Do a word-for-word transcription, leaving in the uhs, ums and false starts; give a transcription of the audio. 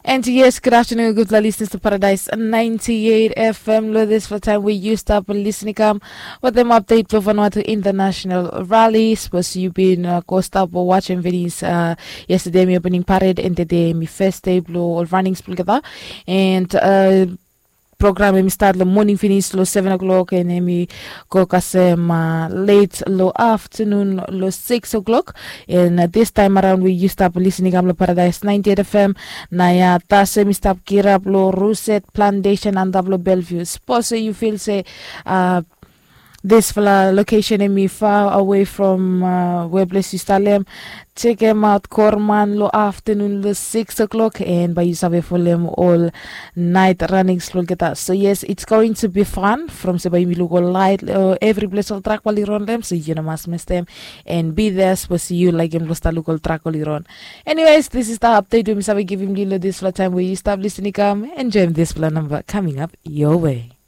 And yes, good afternoon, gudfala listeners to Paradise ninety-eight F M. Lo dispela taim we yu stap listening kam with them update for Vanuatu International Rally. Suppose you been uh, go stop or watching videos uh, yesterday, mi opening parade and today mi first day blo all runnings blo together. And uh, program em i start lo morning finish lo seven o'clock and em i go kasem uh, late lo afternoon lo six o'clock. And uh, this time around we you stop listening am lo Paradise ninety-eight F M. Na ya tasem i stap kirap lo Ruset Plantation antap lo Bellevue. Suppose you feel say uh, dispela location em i far away from uh, where place you start lem. Check em out Korman lo afternoon lo six o'clock and by you save folem all night runnings lo geta. So yes, it's going to be fun from se by you look all light uh, every place all track while you run them, so you know must miss them and be there. Suppose you like em lo start look all track while you run. Anyways, this is the update we mi save give him lilo this floor time where you stop listening come enjoy this floor number coming up your way.